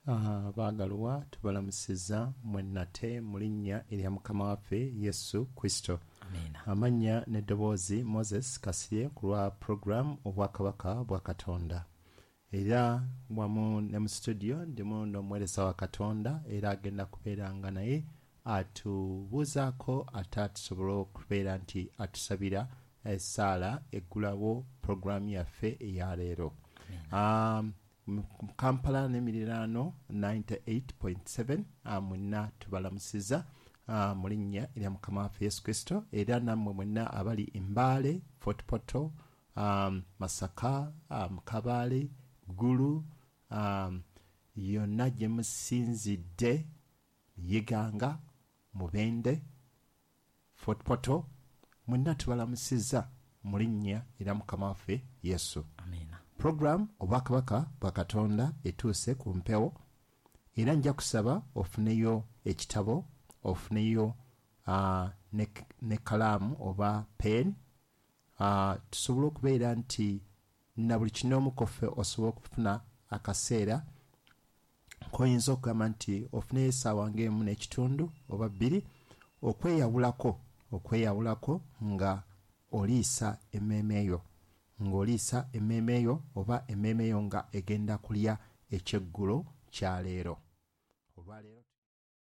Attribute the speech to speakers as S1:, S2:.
S1: Abaagalwa, tubalamusiza mwenna mu linnya erya Mukama waffe Yesu Kristo.
S2: Amiina.
S1: Amannya n'eddoboozi Moses Kasirye ku lwa puroguramu Obwakabaka bwa Katonda. Era wamu ne mu studio ndimu n'omuweereza wa Katonda, era agenda kubeera nga naye atubuuzaako, ate atusobole okubeera nti atusabira essaala eggulawo puroguramu yaffe eya leero. Mu Kampala n'emiriraano 98.7, mwenna tubalamusiza mu linnya erya Mukama waffe Yesu Kristo, era nammwe mwenna abali Embaale, Fort Portal, Masaka, Kabaale, Gulu, yonna gye musinzidde, Iganga, Mubende, Fort Portal, mwenna tubalamusiza mu linnya erya Mukama waffe Yesu.
S2: Amiina.
S1: Puroguramu Obwakabaka bwa Katonda etuuse ku mpewo, era nja kusaba ofuneyo ekitabo, ofuneyo ne kalaamu oba pen, tusobole okubeera nti na buli kinoomu koffe osobola okufuna akaseera koyinza okugamba nti ofuneyo essaawa ng'emu n'ekitundu oba 2 okweyawulako nga oliisa emmeeme yo, ng'oliisa emmeeme yo oba emmeeme yo nga egenda kulya ekyeggulo kya leero. Olwaleero.